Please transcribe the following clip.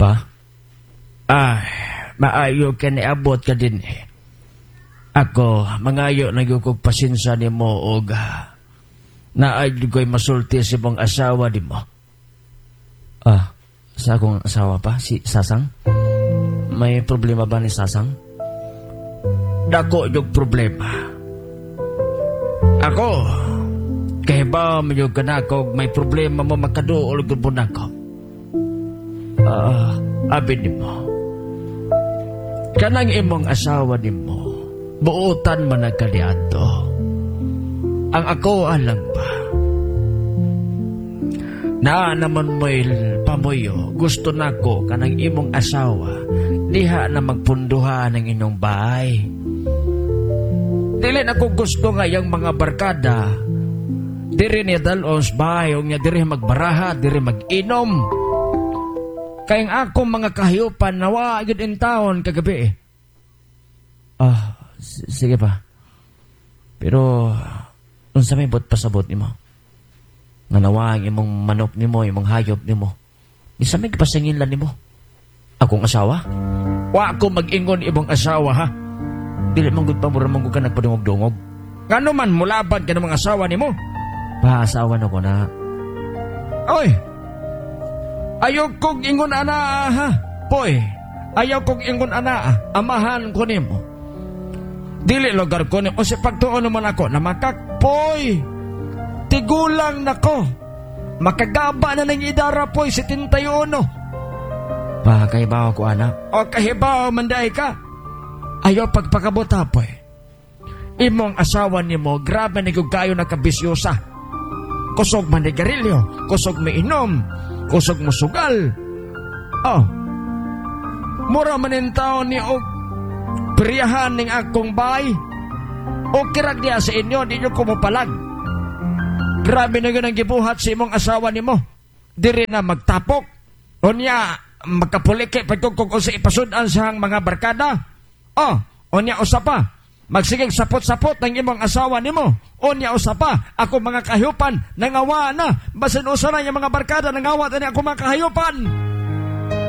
Pa? Ay, maayo ka ni abot ka din eh. Ako, mangayo na gyud kog pasensya nimo og naay ko'y masulti sa imong asawa nimo. Ah, sa akong asawa pa, si Sasang? May problema ba ni Sasang? Dako yung problema. Ako, kay ba man ka nako may problema mo makaduol gud mo nako. Ah, abi nimo. Kanang imong asawa nimo, buutan man nagkaliadto. Ang ako alang pa. Na naman mo'y pamuyo, gusto nako kanang imong asawa, diha na magpunduhan ang inyong bahay. Dili na ko gusto nga yung mga barkada, diri niya dalon sa bahay, o niya diri magbaraha, diri mag-inom. Kaya ang akong mga kahayupan, nawa gyud in town kagabi. Ah, sige pa. Pero, unsa may buot pasabot nimo? Nga nawa ang imong manok nimo, imong hayop nimo. Bisa may pasangil lang nimo. Akong asawa? Wa ko mag-ingon imong asawa, ha? Dili man gud pa mura man gud ka nagpadungog-dungog. Ngano man mulaban ka ng mga asawa nimo? Pa asawa na ko na. Oy. Ayaw kong ingon ana ha. Poy. Ayaw kong ingon ana. Amahan ko nimo. Dili lugar ko nimo. O sa pagtuon naman ako na makakpoy. Tigulang nako. Makagaba na ng idara poy 71. Pa kahibaw ko ana. O kahibaw manday ka. Ayaw pagpakabuta poy. Imong asawa nimo grabe ni kayo nakabisyosa. Kusog manigarilyo, kusog miinom, kusog musugal. Oh. Mura man in taon ni og priyahan ning akong bahay. O kirag niya sa inyo, di nyo kumupalag. Grabe na yun ang gibuhat sa imong asawa nimo. Diri na magtapok. O niya, magkapulike pagkukog o sa ipasudan sa mga barkada. Oh, o niya usa pa. Magsigig sapot-sapot ng imong asawa nimo. O niya usa pa. Ako mga kahayupan, nangawa na. Basin usa na yung mga barkada, nangawa na ako mga kahayupan.